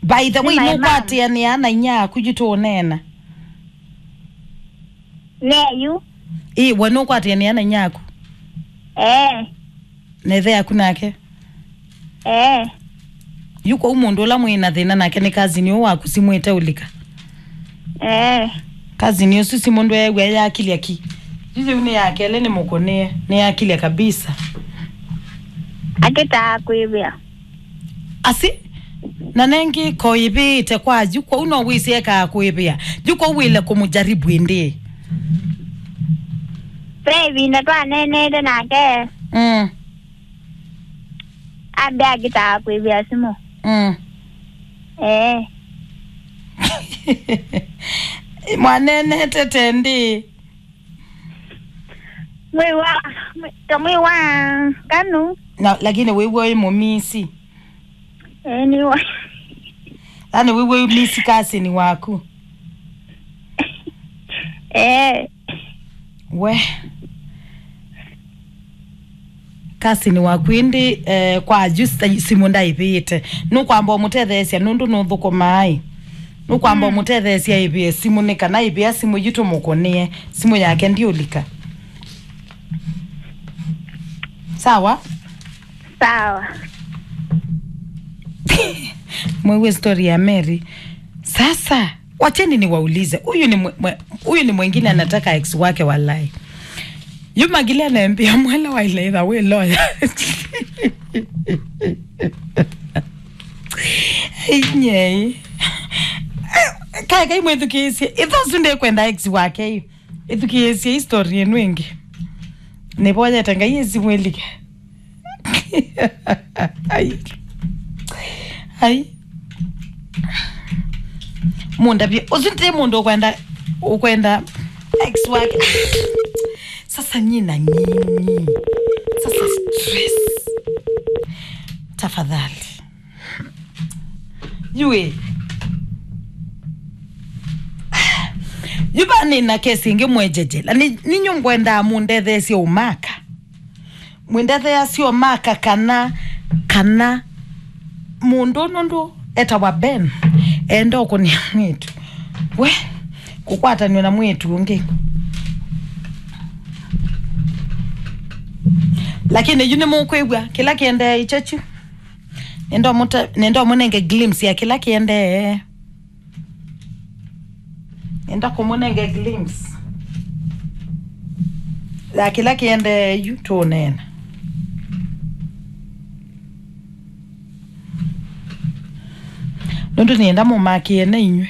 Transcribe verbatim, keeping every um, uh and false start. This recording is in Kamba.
By the way, nũkwatĩanĩa na inya yaku yu tũũneena? Neyu. Ĩ, we nũkwatĩanĩa na inya yaku? Ee. Na ĩthe yaku nake? Ee. Yu kwoou mũndũ ũla mwĩ na thĩna nake nĩ cousin ũũ waku simũ ĩteũlika? Ee. Cousin ũsu simũ ndweew'a yakilya ki? Yu yĩu nĩ ya kelĩ nĩ mũkũnĩe, nĩ yakilya kabisa. Akĩtaa kwĩvĩa. Asi, na nengĩ koĩvĩĩte kwa yu, kwoou no wĩsĩ ekaa kũĩvĩa. Yu kwoou wĩle kũmũjaribu ĩndĩ. Ve ĩvinda twaneenete nake. Mm. Ambe akĩtaa kwĩvĩa simũ. Mm. Ee. Mwaneenete tendĩ. Mwĩ wa, mwĩ, ta mwĩ wa nganu. Na, lakini wĩw'a wĩ mũmisi. Ee, nĩ wa. Yaani wĩw'a wĩ misi cousin waku. Ee. We. Cousin waku ĩndĩ, eh, kwa yu sa-, simũ ndaĩvĩĩte. Nũkwamba ũmũtetheesya nũndũ nũthũkũmaa ĩ. Nũkwamba Mm. ũmũtetheesya ĩvĩe simũ nĩ kana ĩvĩa simũ yu tũmũkũnĩe. Simũ yake ndiũlika. Sawa? Sawa. Mwĩw'e story ya Mary. Sasa, wacheni niwaulize. Huyu ni mwe-, mwe-, huyu ni mwingine anataka ex wake walai. Yu Magilene mbia mwela wa ilaitha we lawyer. Inyei. Kae kai mwĩthukĩĩsye. Itho su ndekwenda ex wake yu. Ĩthukĩĩsye history ĩno ĩngĩ. Nĩvoyete Ngai ĩsimwĩlike. Ai. Ai. Mũndavye, ũsu ti mũndũ ũkwenda, ũkwenda ex wake. Sasa nyina nyinyi. Sasa stress. Tafadhali. Yu ĩ. Yu va nĩ na kesi ĩngĩ mwejeje. Na nĩ, ninyu ngwendaa mũndetheesye ũmaka. Mwĩndetheasye ũmaka kana, kana mũndũ nũndũ etawa Ben. Enda ũkũnĩa mwĩĩtu. We, kũkwatanw'a na mwĩĩtu ũngĩ. Lakini yu nĩmũkwĩw'a kĩla kĩendee icho kyu. Nenda ũmũte-, nenda ũmũnenge glimpse ya kĩla kĩendee. Nenda kũmũnenge glimpse ya kĩla kĩendee yu tũũneena. Nũndũ nĩenda mũmakĩe na inyw'ĩ.